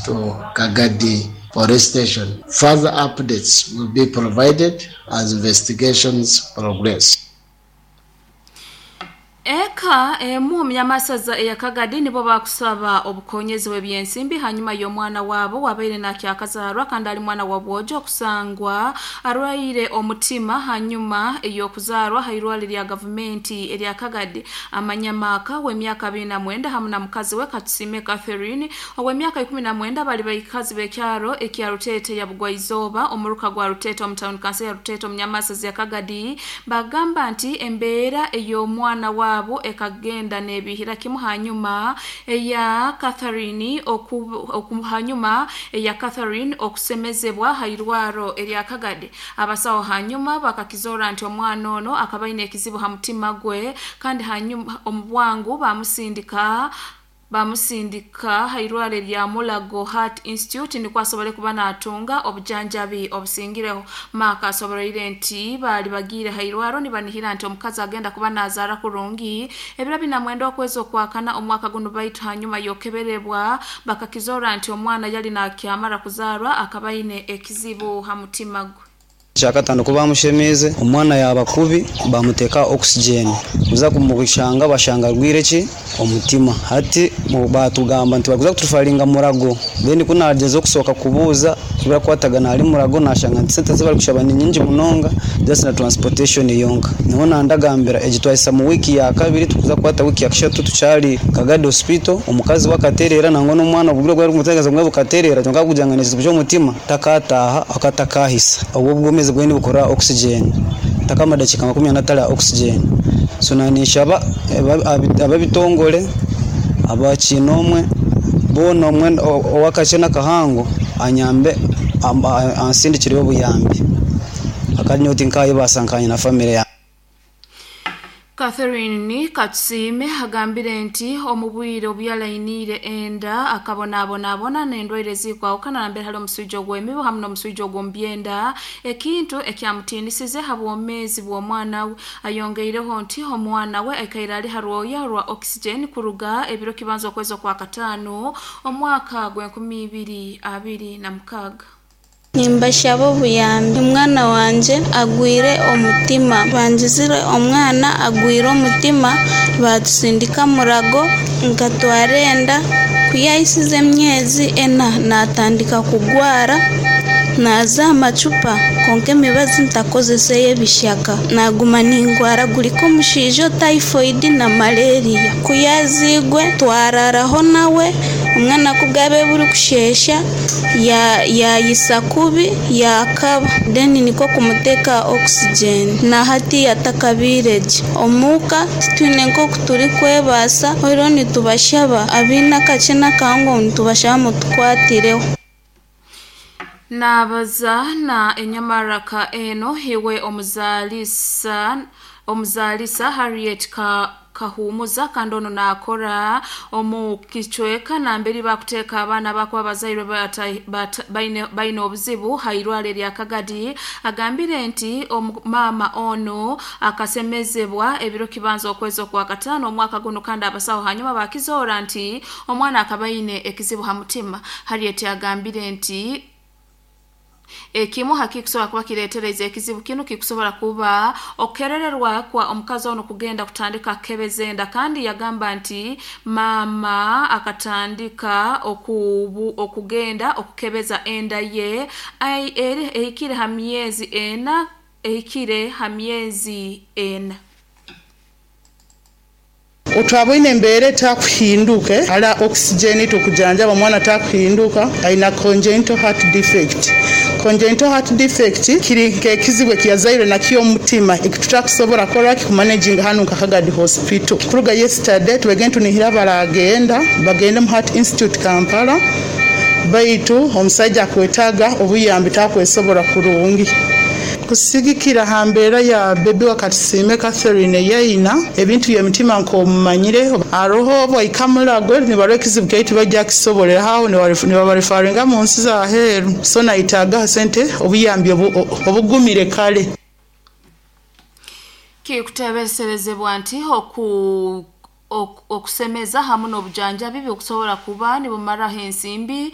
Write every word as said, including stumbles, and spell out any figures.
to Kagadi Police Station. Further updates will be provided as investigations progress. Eka emu omunyamasaza eya Kagadi nibo bakusaba obukonyezi bw'ebyensimbi hanyuma y'omwana waabo wabaire nakyakazaarwa kandi ali mwana wa bwojo okusangwa arwaire omutima hanyuma ey'okuzaarwa ha irwaliro lya gavumenti erya Kagadi. Amanyamaka w'emyaka abiri na mwenda hamu na mukazi we Katusime Catherine ow'emyaka ikumi na mwenda bali baikazi b'ekyaro ekya Rutete ya Bugwaizooba, omuruka gwa Rutete omu town council ya Rutete omunyamasaza ya Kagadi, bagamba nti embeera ey'omwana waabo ekagenda n'ebihira kimu hanyuma eya Catherine oku, oku, hanyuma eya Catherine okusemezebwa ha irwaro erya Kagadi. Abasawo hanyuma bakakizora nti omwana ono akaba aine ekizibu ha mutima gwe, kandi hanyuma omu bwangu bamusindika bamusindika ha irwaro erya Mulago Heart Institute nikwo asobole kuba natunga obujanjabi obusingireho. Maaka asoboleire nti baali bagiire ha irwaro nibanihira nti omukazi agenda kuba nazaara kurungi ebiro bina mwenda okwezi okwakana omwaka guno, baitu hanyuma yokeberebwa bakakizora nti omwana yali nakyamara kuzaarwa akaba aine ekizibu ha mutima gwe. Kyakatano kuba bamushemeze omwana yaba kubi, bamuteka oxygen, kuza kumushanga bashanga rwire ki omutima. Hati batugamba nti bakuza kutufaringa Murago. Then kunageza okusoka kubuuza birakwatagana ali Murago, nashanga nti sente zibari kushaba ni nyingi munonga, just na transportation yonka. Niho nandagambira egi twahisa mu wiki ya kabiri, tukuza kwata wiki ya kashatu tukyali Kagadi Hospital. Omukazi wakaterera nangwa n'omwana obugire bwari kumutegeza mwe bukaterera, kyonka kugira ngo omutima takataha akatakahisa obwo bwomezi bweni bukora oxygen takama dakika makumi na oxygen. So nanishaba ababitongole abakinomwe bona omwe owakakye nakahango anyambe ansindikire obuyambi akanyoti nkaye basankanye na family ya Catherine Katusime agambire nti omubwire obyalainiire enda akabonaabonabona n'endwaire ezikwawukana nambere hali omuswija ogw'emibu hamu n'omuswija ogw'omubyenda, ekintu ekyamutiinisize ha bwomeezi bw'omwana we. Ayongeireho nti omwana we aikaire ali ha rwoya rwa oxygen kuruga ebiro kibanza okwezi okwa kataano omwaka gw'enkumi ibiri abiri na mukaaga. Nimbashaba obuyambi, omwana wangye agwire omutima, bangizire omwana agwire omutima, batusindika Murago nkatwara enda. Kuyahisize emyezi ena natandika kugwara, naza amacupa konka emibazi ntakozese y'ebishaka, naguma ningwara guriko omushaija typhoid na malaria. Kuyazigwe twararaho nawe, omwana kubwabe buri kushesha yayisa kubi yakaba, then niko kumuteka oxygen na hati yatakabiregye. Omuka titwine nk'oku turi kwebaasa, rero nitubashaba abaine akakye n'akahango nitubashaba mutukwatireho. Nabaza na enyamaraka eno hiwe omuzalisa omuzalisa Harriet ka Kahumuza, kandi ono nakora omu kicweka namberi bakuteeka abaana bakuba bazairwe baine obuzibu ha irwaro erya Kagadi, agambire nti maama ono akasemezebwa ebiro kibanza okwezi okwa kataano omwaka guno, kandi abasawo hanyuma bakizoora nti omwana akaba aine ekizibu ha mutima. Harriet agambire nti ekimu hakikusobola kuba kireetereza ekizibu kinu kikusobola kuba okerererwa kwa omukazi ono kugenda kutandika kebeza enda, kandi yagamba nti maama akatandika okubu, okugenda okukebeza enda ye ehikire ha myezi ena ehikire ha myezi ena. Otwaboine embeera etakuhinduke ala oxygen tukujanjaba omwana takuhinduka, aina congenital heart defect. Congenital heart defect kiri nkekizibu ekiyazairwe nakyo omutima ekitutakusobora kora kikumanaging hanu nka Kagadi Hospital. Kuruga yesterday twegenda tunihira baragenda bagende mu Heart Institute Kampala, baitu omusajja akwetaga obuyambi takwesobora kurungi. Kusigikira ha mbeera ya bebi wa Katusime Catherine yaina ebintu by'emitima nk'omumanyire aroho bwaikamulagwe nibarwa ekizibu kyaitu bajja kisobolera aho nibabarefaringa mu nsi z'aheeru. So naitaaga sente obuyambi obugumire kale. Kikutebeserezebwa nti oku okusemeza hamu n'obujanjabi bikusobola kuba nibumaraho ensimbi.